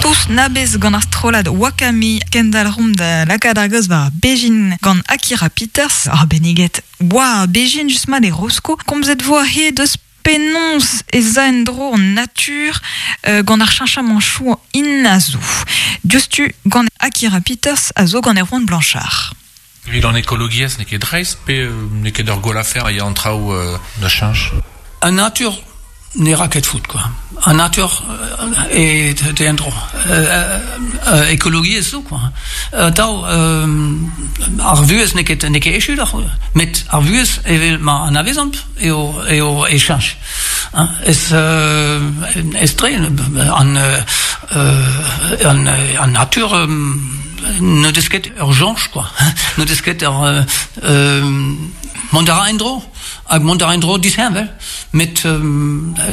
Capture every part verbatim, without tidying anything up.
Tous nabez gant ar strollad Wakami Kendal rom da lakaat ar gaoz war Bejin gant Akira Peters ar beniget Oa Bejin just mat e Rosko komzet vo he deus penons e za en-dro an natur euh, gant ar cheñchamanchoù in a zo. Diouzhtu gant Akira Peters a zo gant Erwan Blanchard. Evit an ekologiezh n'eo ket dreist pe euh, n'eo ket ur gwall afer ya an traoù euh, da cheñch. An natur ne ra ket foot, quoi. An natur euh, e te en-dro. Euh, euh, ekologiezh zo, quoi. Euh, daou, euh, ar vuhez n'eo ket, n'eo ket echu d'ar, met ar vuhez evel ma anavezamp eo, eo e cheñch. Hein, ez, euh, ez tre, an, euh, an, an natur euh, ne deus ket ur soñj, quoi. Ne deus ket ur euh, euh, mont a ra en-dro, hag mont a ra en-dro disheñvel, met euh,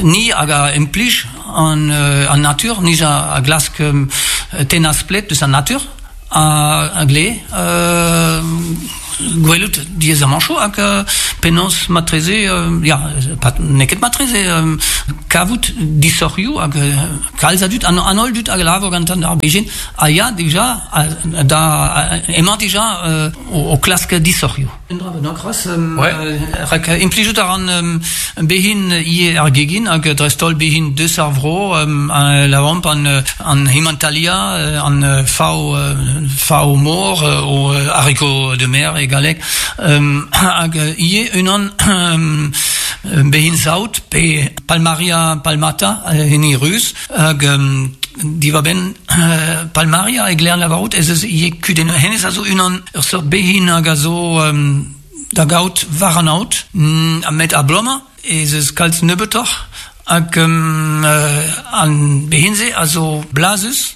ni hag a implij an, euh, an natur, ni a, a glask euh, tennañ splet deus an natur, a, a gle, euh, gwelout diaezamanchoù hag euh, penaos matreze, euh, ya, pat, n'eo ket matreze, euh, kavout disoc'hioù hag euh, kalz a dud, an, an holl dud hag labour gant an ar bejin, a ya dija, a, da, a, emañ dija euh, o, o klask disoc'hioù. Un dra bennak c'hoazh, euh, Ouais. euh, rak implijout a ran euh, behin ivez ar gegin hag dreist-holl behin deus ar vro, euh, an lavamp an, an Himanthalia, euh, an euh, fao, euh, fao mor, euh, o euh, haricot de mer e galleg, euh, hag ivez unan euh, behin saout pe Palmaria palmata, euh, hini ruz, hag euh, diwar-benn euh, Palmaria e glean lavarout ez eus ivez kudenn hennezh a zo unan ur seurt behin hag a zo euh, da gaout war an aod, mm, met a-blom ez eus kalz nebeutoc'h hag um, euh, an behin-se a zo blazus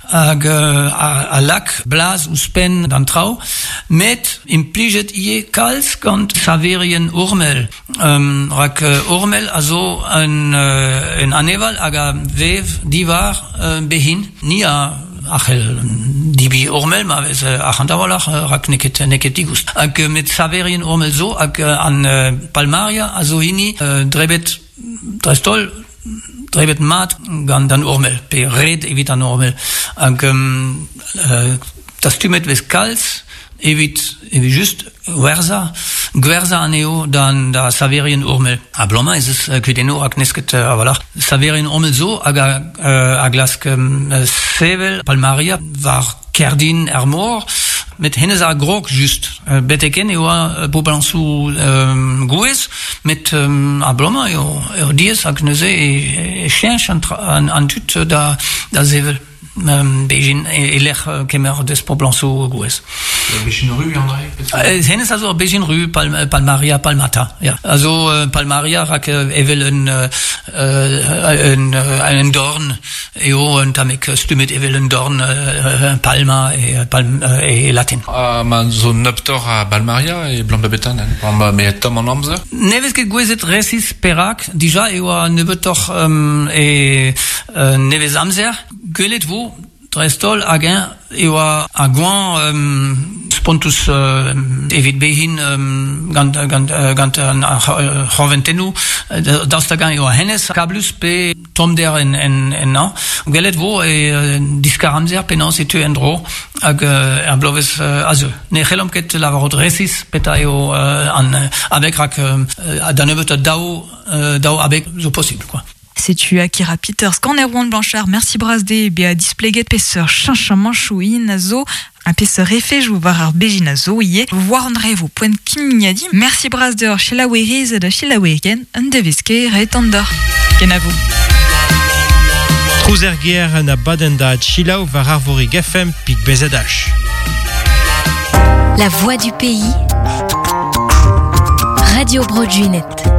hag euh, a, a lak blaz ouzhpenn d'an traoù, met implijet ivez kalz gant saverien ormel. Um, rak euh, ormel a zo un, euh, un aneval hag a vev diwar euh, behin, ni a a c'hell debriñ ormel ma vez euh, arc'hant a-walc'h euh, rak n'eo ket, n'eo ket digoust. Hag euh, met saverien ormel zo hag euh, an euh, Palmaria a zo hini euh, drebet dreist-holl drebet mat gant an ormel, pe red evit an ormel. Hag um, euh, dastumet vez kalz evit, evit just gwerza, gwerza anezho d'an da saverien ormel. A bloma ez eus euh, kudennoù rak n'eus ket euh, a-walc'h. Saverien ormel zo hag a, euh, a glask um, sevel Palmaria war kerdin er mor, met hennezh a grog just. Euh, betek-henn e oa euh, poblañsoù euh, gouez, met euh, a-blom eo, eo diaes hag neuze e, e cheñch an, tra- an, an tud da, da sevel. Um, bejin e, e lec'h euh, kemer deus poblañsoù gouez. Bejin ru, André? Euh, hennezh a zo bejin ru Palm, Palmaria palmata. Ya. A zo euh, Palmaria rak euh, evel un, euh, un, euh, un dorn eo un tammig stummet evel un dorn euh, palma e, palm, euh, e latin. Ah, ma zo nebeutoc'h a Balmaria e blam da betan, ma me tomm an amzer. Ne vez ket gouezet resis perak, dija e oa nebeutoc'h um, e euh, nevez amzer. Gwelet vo, dreist-holl hag-eñ e oa ar goañv um, spontus euh, evit behin um, gant, gant, euh, gant an ar c'horventennoù, daoust hag-eñ e oa hennezh kablus pe tommder en, en, ennañ. Gwelet vo e euh, diskar amzer penaos e teu en-dro hag euh, er bloavezh euh, a zeu. Ne c'hellomp ket lavarout resis petra eo euh, an abeg rak euh, da nebeut daou, euh, daou abeg zo posibl, quoi. Setu Akira Peters gant Erwan Blanchard, merci bras dezhe bezañ displeget peseurt cheñchamanchoù in a zo ha peseurt efejoù war ar bejin a zo ivez war an revo poent kimiadiñ. Merci bras deoc'h selaouerezed ha selaouerien un devezh kaer e deoc'h. Kenavo. Trouz er gêr un abadenn da selaou war Arvorig F M pik B Z H. La voix du pays. Radio Bro Gwened.